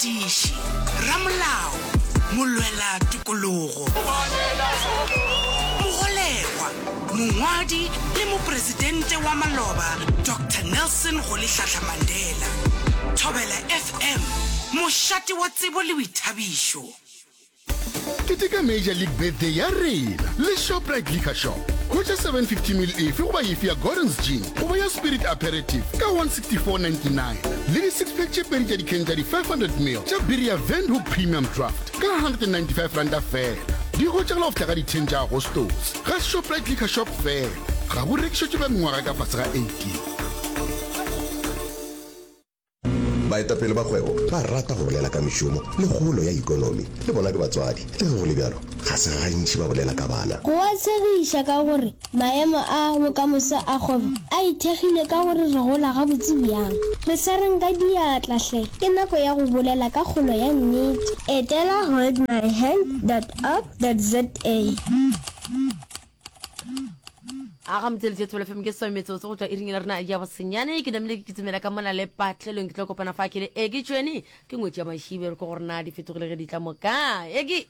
Morutiši, ramolao, molwela tokologo, mogolegwa, mongwadi le mopresidente wa maloba Doctor Nelson Rolihlahla Mandela. Thobela FM, mošate wa tsebo le boithabišo. Keteka Major League Birthday ya rena le Shoprite Liquor Shop. Hwetša 750ml efe goba efe ya Gordon's Gin goba ya Spirit Aperitif ka 164.99 le di six pack tše pedi tša dikheng tša di 500ml tša biri ya Windhoek Premium Draft ka R195 feela. Di hwetšagala go fihla ka di 10 tša Agostose ga Shoprite Liquor Shop feela. Ga bo rekišetšwe ba mengwaga ka fase ga 18. Baetapele ba kgwebo ba rata go bolela ka mešomo le kgolo ya ekonomi. Le bona ke batswadi. Le ge go le bjalo, ga se gantši ba bolela ka bana. Go a tshegiša ka gore maemo a bokamoso a kgwebo a ithekgile ka gore re gola gabotse bjang. Re swareng ka diatla hle, ke nako ya go bolela ka kgolo ya nnete. Etela holdmyhand dot org dot za. A ga motseletši Thobela FM ke swa metsotso go tšwa iring la rena ya bosenyane ke namile ke kitimela ka mona le patlelong ke tlo kopana fa ke le eki tšweni ke ngwetši ya mašibe re ko gore na di fetogile ge di tla moka eki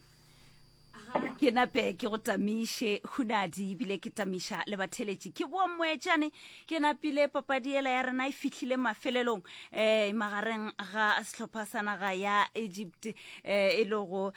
ke nape ke go tamiše hunadi ebile ke tamiša le batheletši ke boa moetšane ke napile papadi ela ya rena e fihlile mafelelong um magareng ga sehlopha sa naga ya egypt um e lego um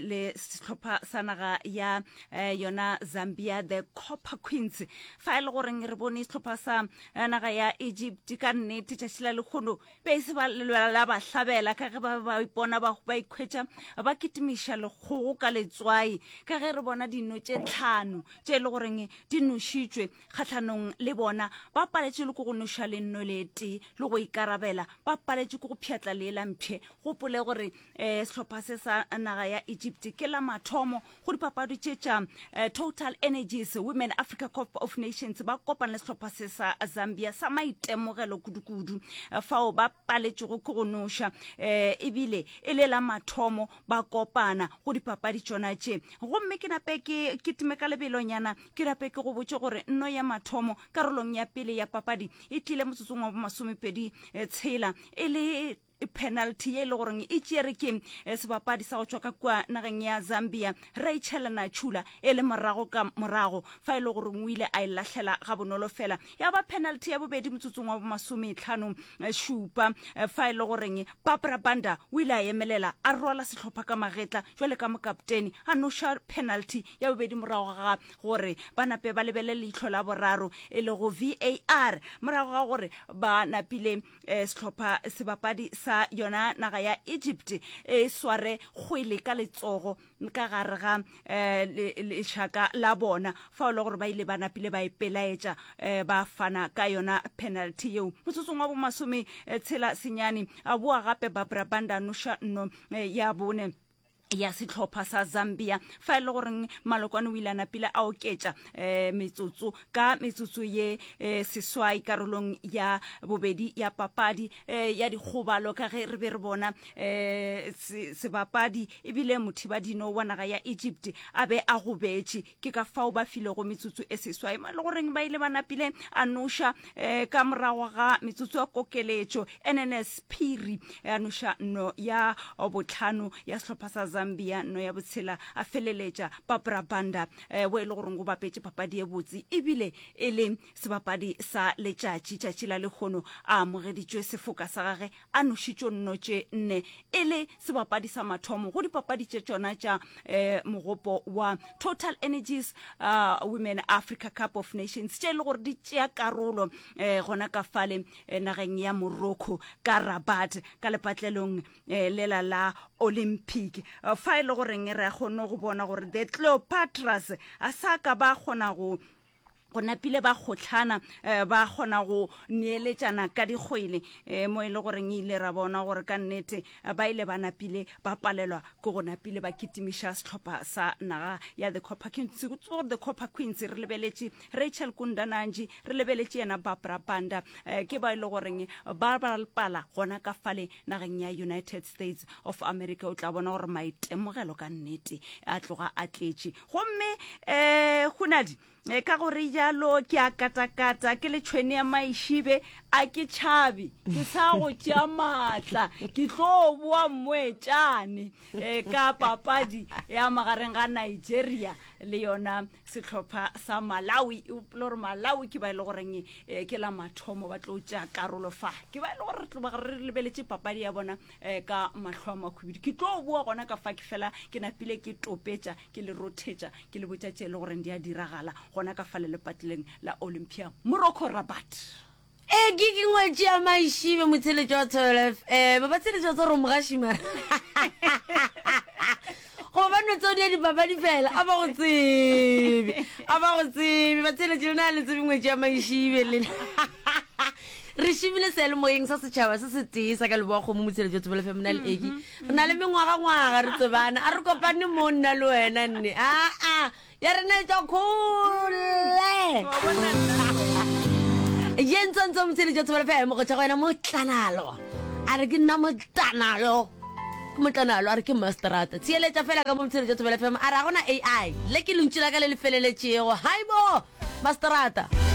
le sehlopha sa naga ya eh, yona zambia the copper queens fa e le goreng re bone sehlopha sa eh, naga ya egypt ka nnete tšatši la lekgono be e se ba lelwela la ba hlabela ka ge ba ba ipona ba ba ikhwetša ba kitimiša lekgogo ka letswai ka ge re bona dino tše tlhano tše e le goreng di nošitšwe kgahlanong le bona ba paletše le ko go noša lenno le tee le go ikarabela ba paletše ke go pšhatla leela mpšhe gopole gore um sehlopha se sa naga ya egypt ke la mathomo go dipapadi tše tša eh, total energies women africa cup of nations ba kopana le sehlopha se sa zambia sa maitemogelo kudukudu eh, fao ba paletšego ke go noša um ebile e le la mathomo ba kopana go dipapadi tšona tše gomme ke nape ke kitime ka lebelonyana ke nape ke go botše gore nno ya mathomo karolong ya pele ya papadi e tlile motsotsong wa bomasomepedi tshela e le penalty ye e le goreng e tšere ke eh, sebapadi sa go tšwa ka kua nageng ya zambia rachel nachula e le morago ka morago fa e le goreng o ile a e lahlela ga bonolo fela ya ba penalty ya bobedi motsotsong wa bomasometlhano eh, šupa eh, fa e le goreng barbara banda o ile a emelela a rwala sehlopha ka magetla jwale ka mokaptene a noša penalty ya bobedi morago ga gore ba nape ba lebele leihlo la boraro e lego var morago ga gore ba napile Eh, sehlopha sebapadi sa yona naga ya Egypt e sware kgwele ka letsogo ka gare ga eh, lešaka la bona fa o le gore ba ile ba napile ba ipelaetša eh, ba fana ka yona penalty yeo motsotsong wa bomasome tshela senyane a boa gape Barbara Banda noša nno ya bone ya sehlopha sa Zambia fa e le goreng Malokwane o ile a napile a oketša um metsotso ka metsotso ye um seswai karolong ya bobedi ya papadi um ya dikgobalo ka ge re be re bona um sebapadi ebile mothibadino wa naga ya Egypt a be a gobetše ke ka fao ba filego metsotso e seswai mo e le goreng ba ile ba napile a noša um ka morago ga metsotso ya kokeletšo nns phiri a noša no ya botlhano ya sehlopha sa zambia no ya botshela a feleletša barbara banda um bo e le goreng go bapetše papadi e botse ebile e le sebapadi sa letšatši tšatši la lekgono a amogeditšwe sefoka sa gage a nošitšo nno tše nne e le sebapadi sa mathomo go dipapadi tše tšona tša um mogopo wa Total Energies uh, Women Africa Cup of Nations tše e le gore di tšea karolo um gona ka fale eh, nageng ya Morocco ka Rabat ka lepatlelong eh, lela la Olympic fa e le goreng re a kgone go bona gore the Cleopatras a sa ka ba kgona go go napile ba kgohlana eh, ba kgona go neeletšana ka dikgwele eh, mo e le goreng e ile ra bona gore ka nnete eh, ba ile ba napile ba palelwa ke go napile ba kitimiša sehlopha sa naga ya the copper queens gore the copper queens re lebeletše rachel kundananji re lebeletše yena barbara banda ke ba e le goreng ba bapala gona ka fale nageng ya united states of america o tla bona gore maitemogelo ka nnete a tloga a tletše gomme um hunadi e ka gore jalo ke a katakata ke le tšhwene ya maišibe A ke tšhabe, ke sa go tšea maatla, ke tlo boa mmoetšane eh, ka papadi ya magareng ga Nigeria le yona sehlopha sa Malawi. O gopola gore Malawi ke ba e le goreng eh, ke la mathomo ba tlo tšea karolo fa, ke ba e le gore re tlo ba re lebeletše papadi ya bona eh, ka mahlo a makhwibidu. Ke tlo boa gona ka fa ke fela ke napile ke topetša ke le rothetša ke le botša tše e le goreng di a diragala gona ka fa le lepatleleng la Olympia Morocco Rabat. E ke ke ngwetši ya maišibe motsheletši wa Thobela FM ba tsheletši wa tsoro mogaši mara goba ba no tseo di ya dipapadi fela a ba go tsebe a ba go tsebe ba tsheletši lena le tsebe ngwetši ya maišibe lena re šimile seyalemoyeng sa setšhaba se se tee sa ka leboa kgomo motsheletši wa Thobela FM na le eki re na le mengwagangwaga re tsebana a re kopane mo nna le wena nne aa Ya rena e tšwa kgole. Ye ntsontsho motheletši wa Thobela FM go tšwa go wena motlanalo. A re ke nna motlanalo. Ke motlanalo a re ke masterata. Theeletša fela ka mo motheletši wa Thobela FM a re ga gona AI. Le ke lentšu la ka le le feleletšego. Haibo masterata.